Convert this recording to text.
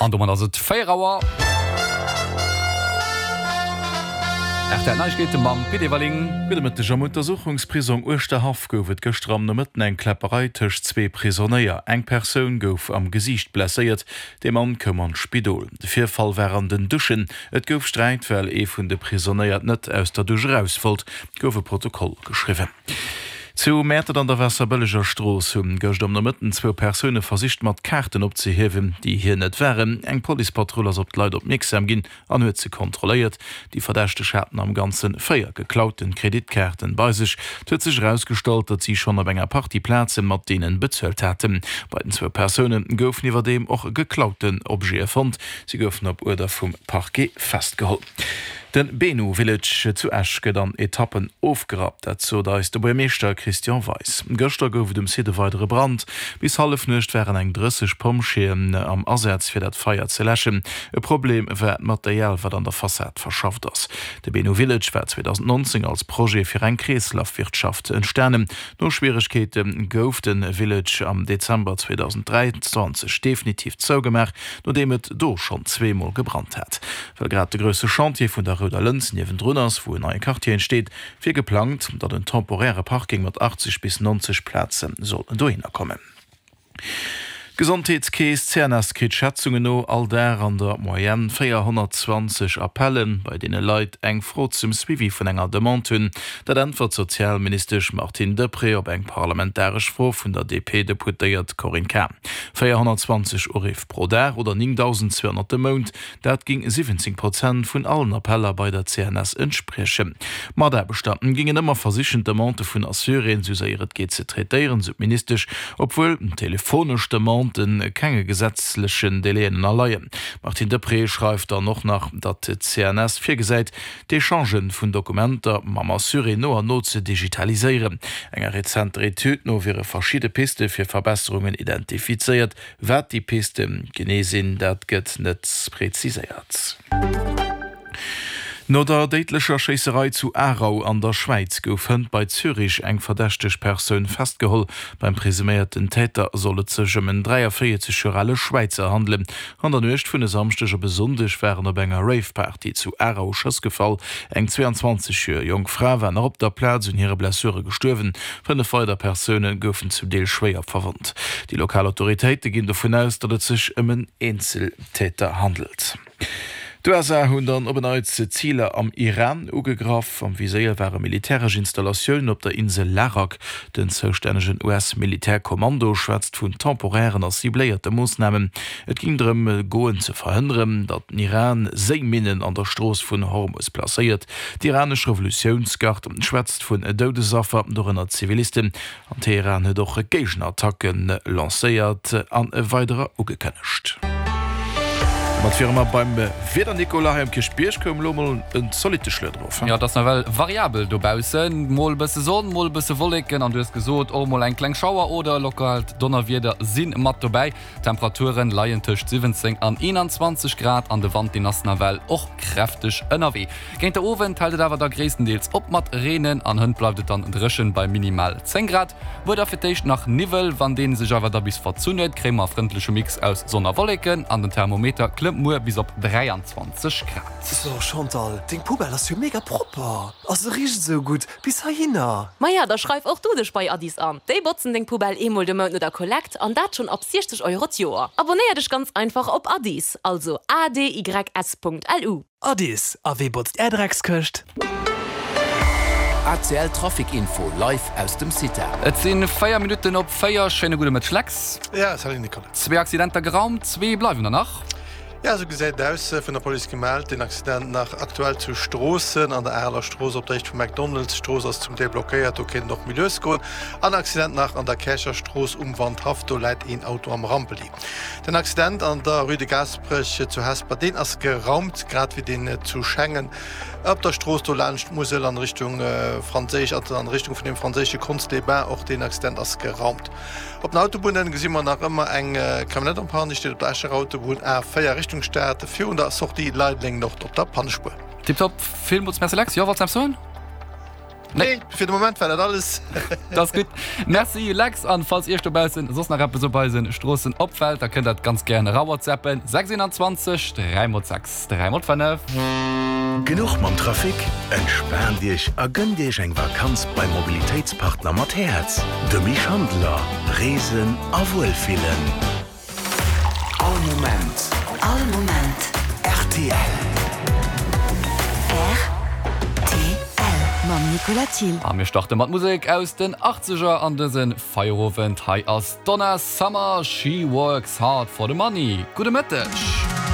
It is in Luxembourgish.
An domat ass et 4 Auer. Rtl Neiegkeete mam Pit Everling. Gudde Mëtteg. Am Untersuchungsprisong Uerschterhaff gouf et gëschter am Nomëtten eng Kläpperei tëscht zwee Prisonéier. Eng Persoun gouf am Gesiicht blesséiert, de Mann koum an d'Spidol. De Virfall war an den Duschen. Et gouf Sträit, well ee vun de Prisonéier net aus der Dusch eraus wollt. Gouf e Protokoll geschriwwen. Zu Mäertert an der Waasserbëlleger Strooss hu gëscht am Nomëtten zwou Persoune versicht mat Kaarten opzehiewen, déi hir net waren. Eng Policepatrull ass op d'Leit opmierksam ginn an huet se kontrolléiert. Déi Verdächteg haten am Ganze 4 geklauten Kreditkaarten bei sech. Et huet sech erausgestallt, datt si schonn op enger Partie Plaze mat deenen bezuelt haten. Bei den zwou Persoune goufen iwwerdeem och geklauten Objete fonnt. Si goufen op Uerder vum Parquet festgeholl. De Benu Village zu Esch gëtt an Etappen ofgerappt, dat sot eis de Buermeeschter Christian Weis. Gëschter gouf et um Site e weidere Brand. Bis Hallefnuecht waren eng 30 Pompjeeën am Asaz fir dat Feier ze läschen. E Problem war d'Material wat an der Fassad verschafft ass. De Benu Village war 2019 als Projet fir eng Kreeslafwirtschaft entstanen. No Schwieregkeete gouf de Village am Dezember 2023 definitiv zougemaach, nodeem et do schonn zweemol gebrannt hat. Well grad de grousse Chantier vun der Rouder Lëns niewendrun ass, wou en neie Quartier entsteet, wier geplangt, datt en temporäre Parking mat 80 bis 90 Plaze soll dohinner kommen. D'Gesondheetskeess CNS kritt Schätzungen no all Dag an der Moyenne 420 Appellen, bei deene Leit eng Fro zum Suivi vun enger Demande hunn. Dat äntwert d'Sozialministesch Martine Deprez op eng parlamentaresch Fro vun der DP-Deputéiert Corinne Cahen. 420 Uriff pro Dag oder 9.200 de Mount, Dat géing 17 Prozent vun allen Appeller bei der CNS entspriechen. D'Mataarbechter géingen ëmmer versichen, d'Demandë vun Assuréen esou séier et geet ze traitéieren, sou d'Ministesch, obwuel telefonesch Demandë kenge gesetzlechen Délaiën ënnerleien. D'Martine Deprez schreift dann och nach, datt d'CNS virgesäit, d'Echange vun Dokumenter mam Assuré no an no ze digitaliséieren. Enger rezenter Etüd no wiere verschidde Piste fir Verbesserungen identifizéiert, Wat déi Piste genee sinn, dat gëtt net preziséiert. No der déidlecher Schéisserei zu Aarau an der Schwäiz gouf hënt bei Zürich eng verdächteg Persoun festgeholl. Beim presuméierten Täter soll et sech ëm en 43 Joer ale Schwäizer handelen. An der Nuecht vun e Samschdeg op e Sonndeg waren op enger Rave-Party zu Aarau Schëss gefall. Eng 22 Joer jonk Fra war nach op der Plaz un hire Blessure gestuerwen. 5 weider Persoune goufen zum Deel schwéier verwonnt. Déi lokal Autoritéite ginn dovun aus, datt et sech ëm en Eenzeltäter handelt. D'USA hunn dann op en Neits Ziler am Iran ugegraff. Am Viséier ware militäresch Installatiounen op der Insel Larak. Den zoustännegen US-Militärkommando schwätzt vun temporären a cibléierte Moossnamen. Et géing drëm goen ze verhënneren, datt den Iran Séiminnen an der Strooss vun Hormus placéiert. D'iranesch Revolutiounsgard schwätzt vun Doudesaffer, dorënner Zivilisten. An Teheran huet och Géigenattacke lancéiert an weiderer ugekënnegt. Domat wiere mer beim Wieder, Nicolas. Hei um Kierchbierg koum elo mol en zolitte Schluet erof. Jo, et ass nawell variabel dobaussen, mol e bësse Sonn, mol e bësse Wolleken an du hues gesot, och mol eng kleng Schauer oder e lokaalt Donnerwieder si mat dobäi. D'Temperaturen leien tëscht 17 an 21 Grad an de Wand deen ass nawell och kräfteg ënnerwee. Géint de Owend hält et awer da gréisstendeels op mat reenen an hënt bleift et dann dréchen bei minimal 10 Grad. Muer da fir d'éischt nach Niwwel, wann deen sech awer da bis verzunn huet, kréie mer e frëndleche Mix aus Sonn a Wolleken an den Thermometer klëmmt muer bis op 23 Grad. So Chantal, deng Poubelle ass jo mega propper a se richt esou gutt bis heihinner. Maja, da schreif och du dech bei Addis an. Déi botzen deng Poubelle eemol de Mount no der Kollekt an dat schonn ab 60 Euro d'Joer. Abonéier dech ganz einfach op Addis, also adys.lu. Addis, a wee botzt är Dreckskëscht? ACL Trafic Info live aus dem CITA. Et sinn 4 Minutten op 4. Schéine gudde Mëtteg Lex. Ja, salut Nicolas. Zwee Accidenter geraumt, zwee bleiwen der nach. Ja, esou gesäit et aus. Vun der Police gemellt, den Accident nach aktuell zu Stroossen an der Areler Strooss op der Héicht vum McDonald's. D'Strooss ass zum Deel blockéiert, do kéint et och méi lues goen. An Accident nach an der Käercher Strooss um Wandhaff, do läit een Auto am Rampeli. Den Accident an der Rue de Gaasperech zu Hesper, deen ass geraumt, grad wéi deen zu Schengen op der Strooss do laanscht d'Musel an Richtung franséisch, also an Richtung vun dem franséische Conz-les-Bains. Och deen Accident ass geraumt. Op den Autobunnen gesi mer nach ëmmer eng Camionnette en panne, déi steet op der Escher Autobunn A4 Richtung Stad, virun der Sortie Leideleng Nord op der Pannespuer. Tiptop, villmools Merci Lex. Jo, wollts eppes soen? Nee, fir de Moment war dat alles. Dat ass gutt. Merci Lex. An falls Iech dobaussen soss nach eppes op eisen Stroossen opfält, da kënnt dat ganz gären era whatsappen, 6 21 3 mol 6 3 mol 5. Genuch mam Trafic? Entspaant Iech a gënnt Iech eng Vakanz beim Mobilitéitspartner mat Häerz, de Mich Handler. Reesen a Wuelfillen. All Moment. All Moment. Rtl. Rtl. Mam Nicolas Thill. A mir starte mat Musek aus den Achtzeger an dëse Feierowend. Hei ass d'Donna Summer, She Works Hard for the Money. Gudde Mëtteg.